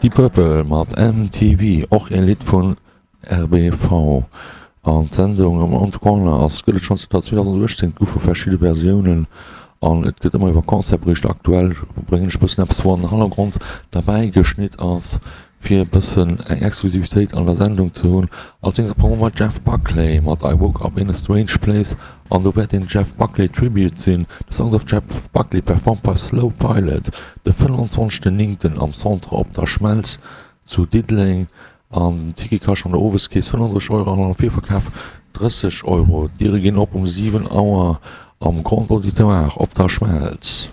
Deep Purple mat MTV, och ee Lidd vun RBV. An d'Sendung am On The Corner ass gëtt et schonn zanter 2018, et goufe verschidde Versiounen an et gëtt ëmmer iwwer Concert bericht. Aktuell bréngen ech e bëssen eppes wou an den Hannergrond derbäi geschnitt ass, fir e bëssen eng Exklusivitéit an der Sendung ze hunn. Als nächst kommen mer Jeff Buckley mat I Woke Up In A Strange Place an do wäert een Jeff Buckley Tribute sinn, The Songs of Jeff Buckley performed by Slow Pilot, de 25 Néngten am Centre Op der Schmelz zu Diddeleng an den Ticket kascht an der Oweskeess 35 Euro an am Virverkaf 30 Euro. D'Diere ginn op um 7 Auer am Grand Auditoire op der Schmelz.